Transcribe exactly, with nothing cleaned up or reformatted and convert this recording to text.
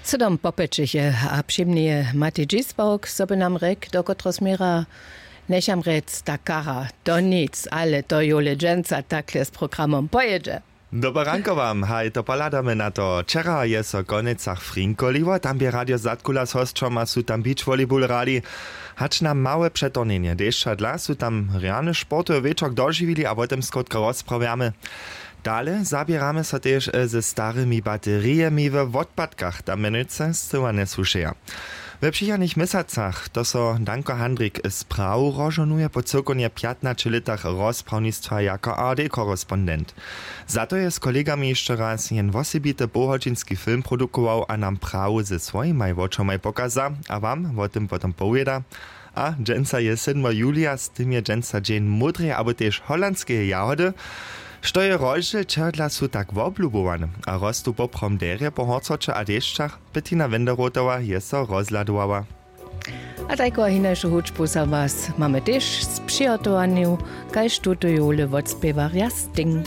Sydom popjećeše a přimnije mati dźisbawk zo by nam rjek do kotrehož směra, njecham rjec ta kara, to nic ale to jowle dźensa takle z programom pojědźe. Dobre ranko wam, haj, to pohladamy na to. Wčera je so w Konecach frinkoliło, tam bě radio zadkula z hosćom a su tam beach volleyball hrali. Hač na małe přetornjenje dešća dla su tam rjany sportowy wječor dožiwili a wo tym skrótka rozprawjamy. Dale zaběramy so tež ze starymi baterijemi we wotpadkach tam mjenujcy scyła njesłušeja. We přichodnych měsacach to so danko handrik z prahu rozžohnuje po cyłkownje pjatnaće lětach rozprawnistwa jako ard korespondent. Za to je z kolegami hišće raz jen wosebity połhodźinski film produkował a nam prahu ze swojimaj wočomaj pokaza a wam wo tym potom powěda. A dźensa je sydmo julija, z tym je dźensa dźeń módreje abo tež holandskeje jahody. Što je rozdźěl čehodla su tak woblubowany a rostu poprawom derje po horcoće a dešćach? Bettina wenderotowa je so rozhladowała. A tajku a hinašu hudźbu za was mamy tež z přihotowaniu, kaž tutu jowle wotspěwarja sting.